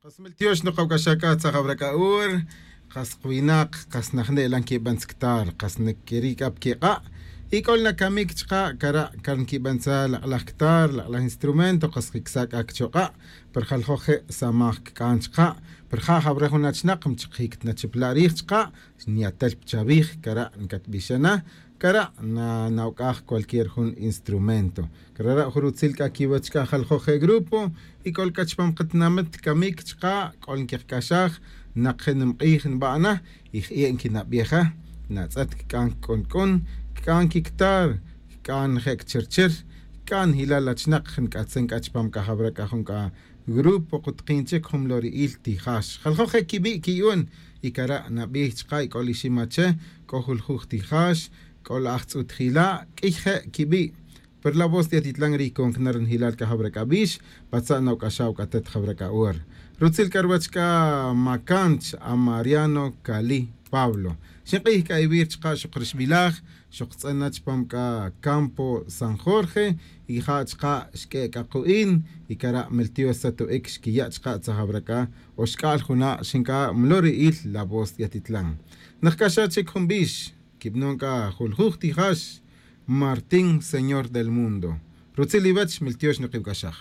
Qas meltiox noqawk'axaka tzajawrak'a'ur qas qwinaq qas najne'lan kib'antzktar qas nikirik'ap kiq'a' ik'ol nakamik chqa kara' kan kib'antza laq'laj ktar laq'laj instrumento qas kiksak akchoq'a' per jaljoj je' samaj kk'an chqa per ja jawre jun achnaq mchiqik tnachipla' riij chqa nyatel pchavij kara' nkatb'ixana kara' na nawk'aj cualquier jun instrumento karara' jurutzil k'a kiwach k'a jaljoj je' grupo ik'ol k'a chpam qatnamit kamik chqa k'ol nkiqk'axaj naq je' nimq'iij nb'a'na y je' nkinab'yeja natz'et kk'an k'un kk'an kiktar kk'an je' kchirchir kk'an hilal achnaq nk'atzin k'a chpam k'a jawre k'a jun k'a grupo qutqin chik jun lori'il tijax jaljoj je' kib'i' kiyun y kara' nab'iij chqa ik'ol iximache k'o juljuj tijax k'ol ajtz'utjila' k'iy je' kib'i' per La Voz de Atitlán ri konknar hilal k'a jawre k'a b'ix patza' nawk'axaw k'atet jawre k'a ur rutzil k'arwach k'a makanch a Mariano Cali Pablo xinq'iij k'a iwir chqa xuqrixb'ilaj xuqtz'ena chpam k'a Campo San Jorge y ja chqa xk'e k'a qu'in y kara' meltios sato'ik xkiya' chqa tzajawre k'a oxk'al juna' xink'a mlori'il La Voz de Atitlán naqk'axa chik jun b'ix kib'non k'a juljuj tijax Martín, Señor del Mundo. Rutzil iwach miltiox niqiwk'axaj.